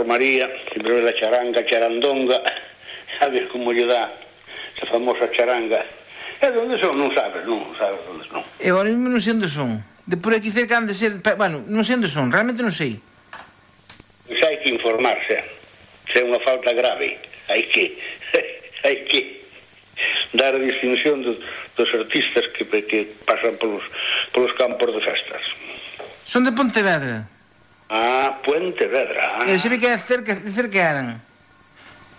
María, sempre ve a charanga, charandonga, a ver como lle dá esa famosa charanga. E onde son? Non sabes onde son. E agora mesmo non sei onde son. De por aquí cerca han de ser... Bueno, non sei onde son, realmente non sei. Pois hai que informarse. Se é unha falta grave, hai que dar a distinción dos artistas que pasan polos campos de festas. Son de Pontevedra. Pontevedra. Eu sei que cerca eran.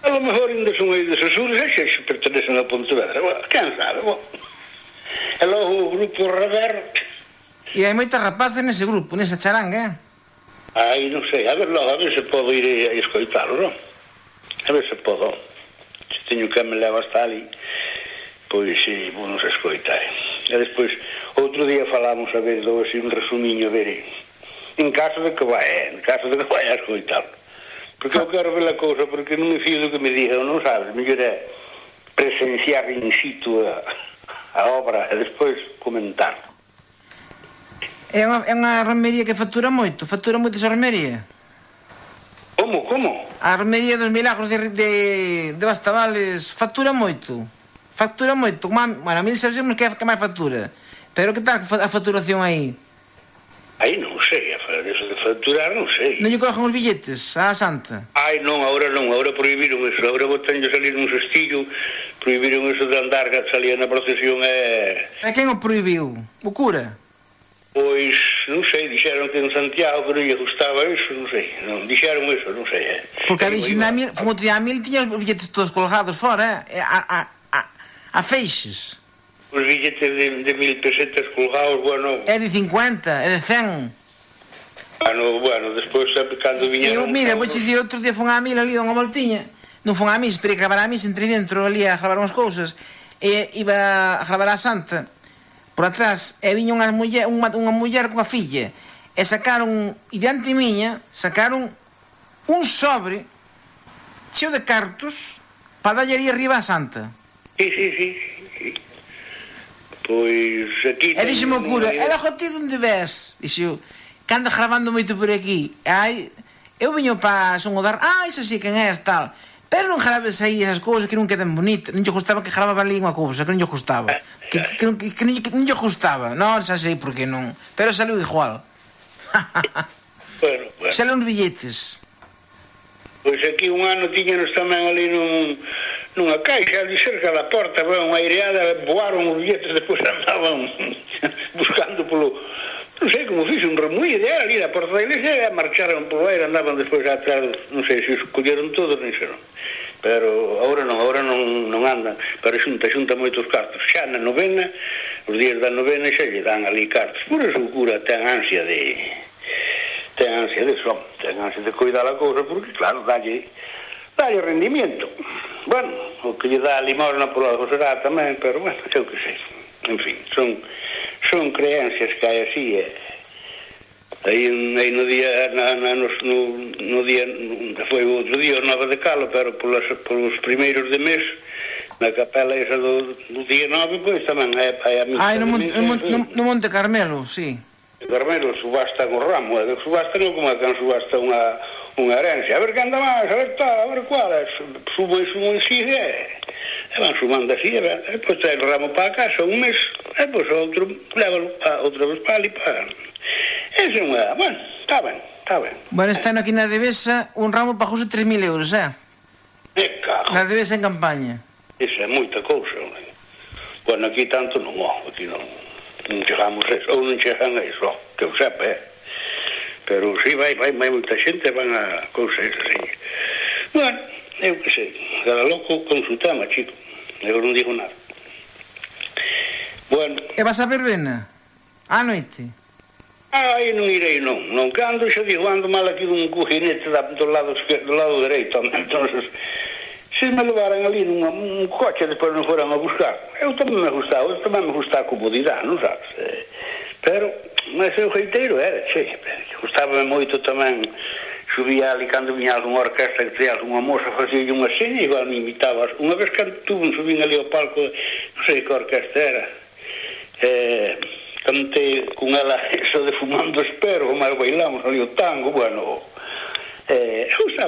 A lo mejor ainda son aí dos Açores, e se pertenecen a Pontevedra. Bueno, quen sabe, bueno. E logo o grupo Rever. E hai moitas rapaces nese grupo, nesa charanga, Aí non sei, a ver se podo ir a escoitalo, non? A ver se podo. Se teño que me leva hasta ali, pois si, vou nos escoitar. E despois, outro día falamos, a ver, dou así un resumiño, a ver, en caso de que vai a escoitalo. Porque eu quero ver a cousa, porque non me fío do que me diga, non sabes, mellor é presenciar in situ a obra e despois comentar. É unha romería que factura moito esa romería. Como? A romería dos Milagros de Bastavales factura moito. Bueno, a mí sabemos que máis factura. Pero que tal a facturación aí? Aí non sei, eso de facturar non sei. Non lle cogen os billetes á Santa? Ai, non, agora prohibiron eso. Agora botanlle salir un cestillo, prohibiron eso de andar, salía na procesión e... E quen o prohibiu? O cura? Pois, non sei, dixeron que en Santiago que non lle gustaba eso, non sei. Non, dixeron eso, non sei, Porque a Virxina Mil, como tiña Mil, tiña os billetes todos colgados fora, a feixes. Os billetes de 1.000 pesetas colgados, bueno... É de 50, é de 100. Bueno, despois, cando viñeron... Mira, vou dicir, outro día fun á Mil ali, unha voltiña. Non fun á Mil, esperei que gravar a Mil, entre dentro ali a gravar unhas cousas. E iba a gravar a Santa. Por atrás, e viña unha muller coa filla. E sacaron, e diante miña, sacaron un sobre cheo de cartos para dalle ali arriba a Santa. Sí. Pois aquí... E dixeme o cura, ela ti onde ves? Dixo, que anda gravando moito por aquí. Eu viño para sonodar, iso sí, quen és, tal. Pero non graves aí esas cousas que non quedan bonitas. Non lle gustaba que gravaba ali unha cousa, que non lle gustaba. Que non lle gustaba. Non, xa sei por que non. Pero saliu igual. Bueno. Saliu uns billetes. Pois aquí un ano tiñanos tamén ali nunha caixa ali cerca da porta, unha aireada, voaron os billetes, depois andaban buscando polo... Non sei como fixo un remuído, era ali da porta da iglesia, e marcharon polo aire, andaban despois atrás, non sei se os colleron todos, non sei, non. Pero agora non andan, pero xunta moitos cartos. Xa na novena, os días da novena, xa lle dan ali cartos. Por eso o cura ten ansia de cuidar a cousa, porque claro, dalle rendimiento. Bueno, o que lle dá a limosna por algo será tamén, pero bueno, eu que sei. En fin, son creencias que hai así, aí no día, no día, foi outro día, o 9 de Calo, pero polos primeiros de mes, na capela esa do día 9, pois tamén hai a misa. No Monte Carmelo, sí. Carmelo subastan o ramo, subastan como que subasta unha herencia, a ver que anda máis, a ver tal, a ver cual, subo e sigue, e van sumando así, e depois trae o ramo para a casa un mes, e depois outro, lévalo outra vez para ali, para... Esa é unha, bueno, está ben. Bueno, está aquí na Devesa, un ramo pagose 3.000 euros, cago. Na Devesa en campaña. Esa é moita cousa, bueno, aquí tanto non, aquí non chegamos a eso, ou non chegan a eso, que eu sepa, pero si vai moita xente, van a cousas así. Bueno, eu que sei, cada loco con su tema, chico, eu non digo nada. Bueno. E vas a verbena? A noite? Aí non irei, non cando, xa digo, ando mal aquí dun cojinete do lado dereito, entonces se me levaran ali num coche e depois non foran a buscar, eu tamén me gusta a comodidade, non sabes? Pero, mas eu reiteiro, gustaba moito tamén, subía ali cando viña algunha orquesta que traía algunha moza, facía unha seña, igual me imitaba. Unha vez que subín ali ao palco, non sei que orquesta era, cantei con ela eso de Fumando Espero, mas bailamos ali o tango, bueno, eu